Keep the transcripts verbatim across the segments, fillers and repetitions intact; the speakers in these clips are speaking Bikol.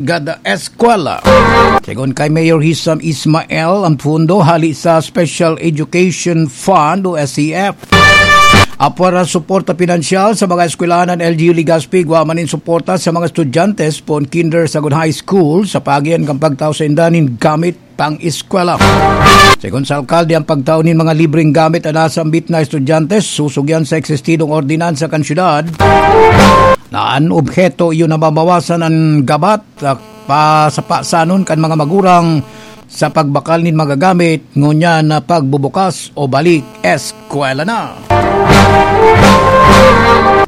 Gada Eskwela. Segun kay Mayor Hisam Ismael, ang pondo hali sa Special Education Fund o S E F. Apwera suporta pinansyal sa mga eskwelahan an L G U Legazpi, igwa man nin suporta sa mga estudyante sa poon kinder sagkod high school sa paagihan kan pagtao sainda nin gamit pang-eskwela. Segun sa alkalde, ang pagtao nin mga libreng gamit an nasambit na estudyante susog iyan sa eksistidong ordinansa kan syudad na an obheto iyo na mabawasan an gabat, ah, pa, sa pasanon kan mga magurang sa pagbakal nin mga gamit, ngunyan na pagbubukas o balik eskwela na.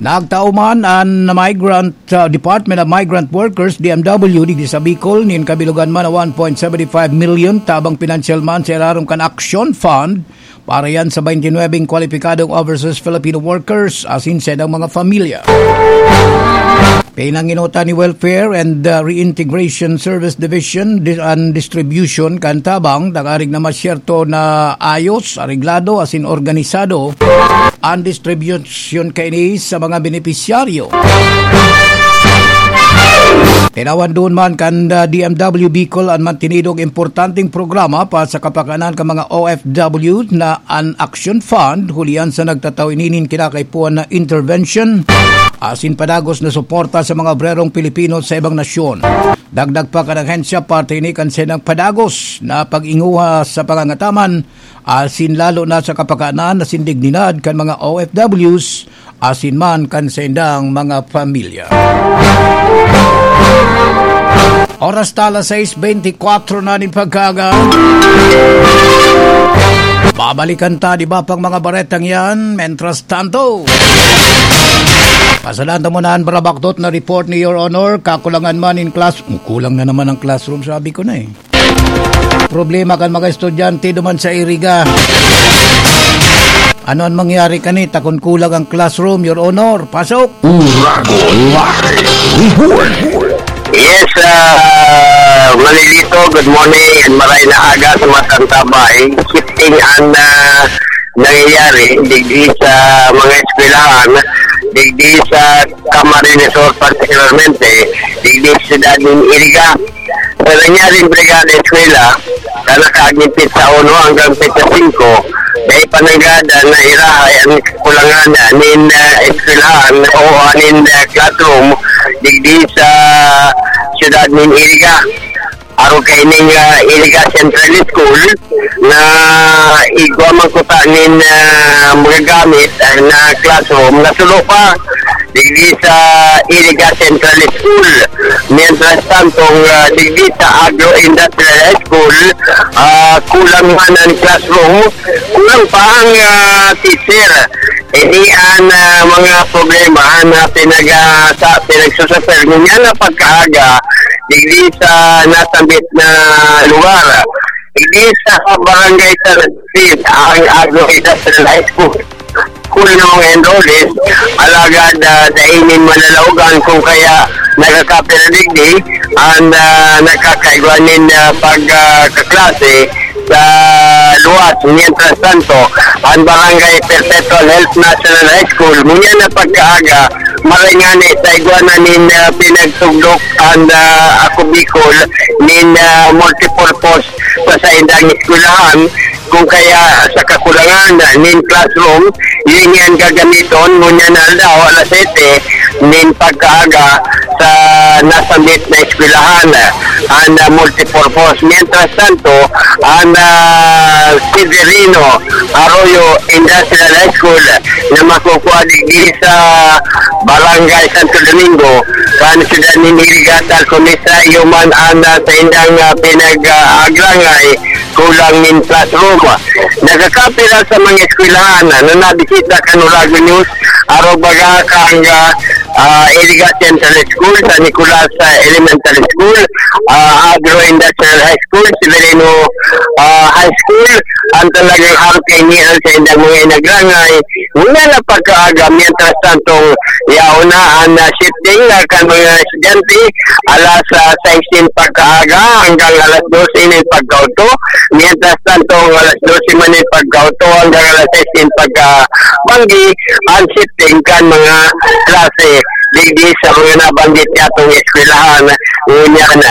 Nagtao man an Migrant, ah, Department of Migrant Workers, D M W, digdi sa Bicol, nin kabilogan man na one point seven five million tabang pinansyal man sa irarom kan Action Fund para yan sa twenty-nine kwalipikadong overseas Filipino workers asin sa ilang mga pamilya. Pinanginutan ni Welfare and, uh, Reintegration Service Division di-, an distribution kan tabang, tangarig na masyerto na ayos, areglado, asin organisado an distribution kaini sa mga benepisyaryo. Tinawan duon man kan, uh, D M W Bicol an mantinidong importanteng programa para sa kapakanan kan mga O F W na an Action Fund, hulihan sa nagtatao ini nin kinakaipuhan na intervention asin padagos na suporta sa mga obrerong Pilipino sa ibang nasyon. Dagdag pa kan ahensya, parte ini kan saindang padagos na pag-inguha sa pangangataman asin lalo na sa kapakanan asin dignidad kan mga O F Ws asin man kan saindang mga pamilya. Oras ta alas sais beintikwatro na nin pagkaaga. Babalikan ta, di ba, pang mga baretang yan? Mientras tanto, pasadan ta muna an barabaktot na report ni Your Honor. Kakulangan man nin class-, kulang na naman ang classroom, sabi ko na eh. Problema kan mga estudyante duman sa Iriga. Ano an mangyari kani ta kun kulang ang classroom, Your Honor? Pasok! Uragon Live Report. Yes, ah, Manilito, good morning and maray na aga sa mga tantabay. Shifting an, ah, nangyayari digdi sa mga eskwelahan, digdi sa Camarines Sur particularmente, digdi sa siyudad nin Iriga. Sa nangyaring Brigada Eskwela, sa nakaaging petsa uno hanggang petsa singko, dai pa nanggad na irahay an kakulangan nin, ah, eskwelahan o nin, ah, classroom digdi sa siyudad nin Iriga. Arog kaining, ah, Iriga Central School, na igwa man kuta nin, ah, mga gamit, ah, na classroom na sulo pa digdi sa Iriga Central School. Mientras tanto, ah, digdi sa Agro Industrial High School, ah, kulang man an classroom, kulang pa ang, ah, teacher. Ini an, ah, mga problema na pinag-, ah, sa, pinagsusufer ngunyan na pagkaaga digdi sa nasambit na lugar. Digdi sa Barangay San Agustin, ang Agro Industrial High School. School ng mga enrollees, alagad, ah, dai nin malalaogan kung kaya nagkakapira digdi an, ah, nagkakaigwa nin, ah, pag, ah, kaklase sa luwas. Mientras tanto, ang Barangay Perpetual Health National High School, ngunyan na pagkaaga, maray ngani sa igwa na nin, ah, pinagtugdok ang, ah, Ako Bicol nin, ah, multipurpose sa saindang eskwelahan, kung kaya sa kakulangan nin classroom, yun yan gagamiton ngunyan na aldaw, alas sete nin pagkaaga sa nasambit na eskwelahan, ang, ah, multipurpose. Mientras tanto, ang, ah, Severino Arroyo Industrial High School na makukuha digdi sa Barangay Santo Domingo, kan siyudad nin Iriga, tal kung isay man an, ah, saindang, ah, pinag-, ah, agrangay, kulang nin classroom. Nagkakapira sa mga eskwelahan na nabisita kan Uragon News, arog baga kan, ah, ah, Iriga Central School, San Nicolas, ah, Elementary School, ah, Agro Industrial High School, Severino, ah, High School, ang talagang arog kaini an saindang mga inagrangay. Ngunyan na pagkaaga, mientras tanto, yaon na an, ah, shifting, ah, kan mga estudyante, alas, ah, sais nin pagkaaga, aga hanggang alas dose nin pagkaudto. Mientras tanto, ang alas dose man nin pagkaudto hanggang alas sais nin pagkabanggi, an shifting kan mga klase digdi sa mga nabanggit niyatong eskwelahan, ngunyan